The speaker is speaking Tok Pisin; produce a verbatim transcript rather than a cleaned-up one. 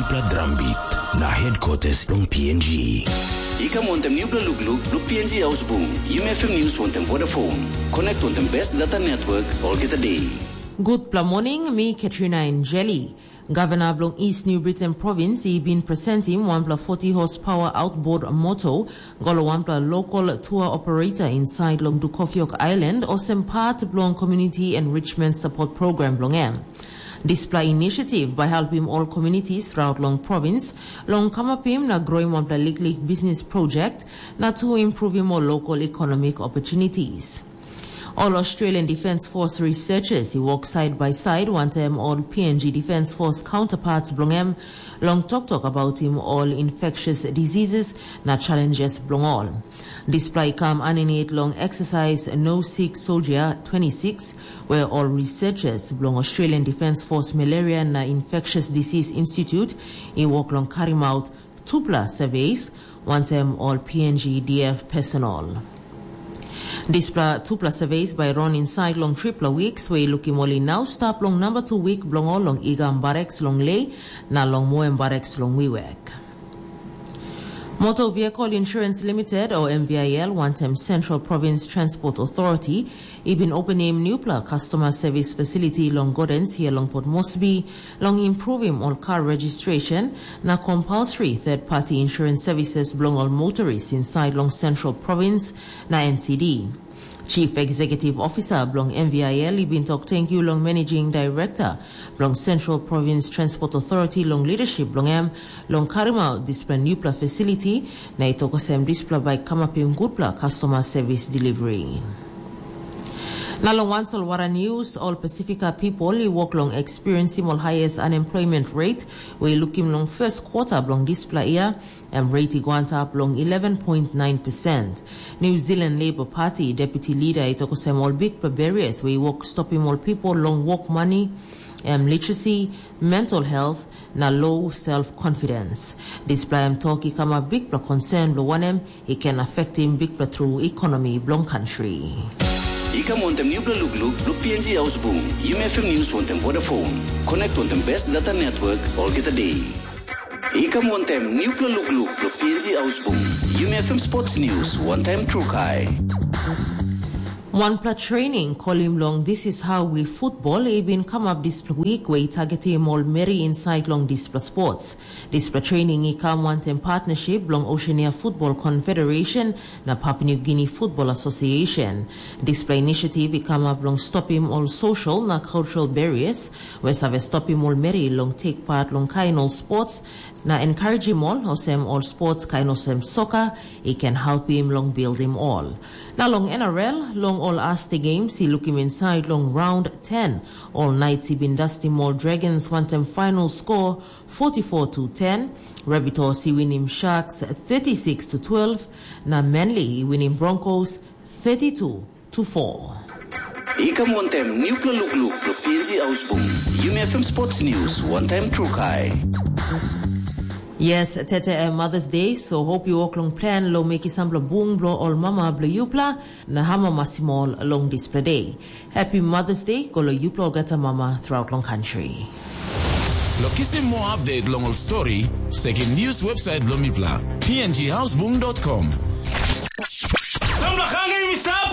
Nupla drambit na headquarters long P N G. I kam wantem nupla lukluk blo P N G Ausbung, Yumi F M News wantem Vodafone. Connect wantem best data network olgeta day. Gutpela morning, mi Katrina Enjeli. Gavana bilong East New Britain Province i bin presentim wanpela forty horsepower outboard moto go long wanpela local tour operator inside long Dukofiok Island olsem part bilong Community Enrichment Support Program bilong em. Dispela initiative bai helpim ol communities throughout long province long kamapim na growim wanpela liklik business project na tu improvim ol local economic opportunities. Ol Australian Defence Force researchers i work side by side wantem ol P N G Defence Force counterparts bilong em long toktok about him ol infectious diseases na challenges bilong ol. Dispela i kam aninit long exercise No Sick Soldier twenty-six, where ol researchers bilong Australian Defence Force Malaria na Infectious Disease Institute i work long karim out tupela surveys wantem ol P N G D F personal. Dispela tupela surveys bai run inside long tripela weeks, where i lukim ol i nau stap long number two week bilong ol long Igam Barracks long Lei na long Moem Barracks long Wiwek. Motor Vehicle Insurance Limited, o M V I L, wantem Central Province Transport Authority, i bin openim nupela customer service facility long Gordens here long Port Moresby, long improvim ol car registration na compulsory third party insurance services bilong ol motorists inside long Central Province na N C D. Chief Executive Officer bilong M V I L i bin tok tenkyu long Managing Director bilong Central Province Transport Authority long leadership bilong em long karim out dispela nupela facility, na i tok olsem dispela bai kamapim gutpela customer service delivery. Na long wan solwara news, ol Pasifika people i wok long experiensim ol highest unemployment rate we i lukim long first quarter bilong dispela year, em rate i go antap long eleven point nine percent. New Zealand Labour Party deputy leader i tok olsem ol bikpela barriers we i wok stopim ol people long wok money, em literacy, mental health, na low self-confidence. Dispela em tok i kamap bikpela concern bilong wanem i ken affectim bikpela tru economy bilong country. I kam wantem nupela lukluk bilong P N G Ausbung, Yumi F M News wantem Vodafone. Connect wantem best data network olgeta day. I kam wantem nupela lukluk bilong P N G Ausbung, Yumi F M Sports News wantaim Trukai. Wanpela training kolim long This Is How We Football i bin kamap dispela wik we i targetim ol meri insait long dispela sports. Dispela training i kam wantaim partnership bilong Oceania Football Confederation na Papua New Guinea Football Association. Dispela initiative i kamap long stopim ol social na cultural barriers we save stopim ol meri long take part long kain ol sports na encouragim ol olsem ol sports kain olsem soccer i ken helpim long buildim ol. Na long N R L, long ol Aste Games i lukim insait long round ten, ol Knights i bin dastim ol Dragons wantaim final score forty-four to ten, Rabbitohs i winim Sharks thirty-six to twelve, na Manly i winim Broncos thirty-two to four. I kam wantem nupela lukluk bilong P N G Ausbung, Yumi F M Sports News wantaim Trukai. Yes, tete em Mother's Day, so hope you wok long plan long mekim sampela bung bilong ol mama bilong yupela na hamamasim ol long dispela day. Happy Mother's Day go long yupela olgeta mama throughout long country. Lo kisim more update long ol story, sekim news website bilong mipela, P N G Ausbung dot com. Sampela hangre mi stap.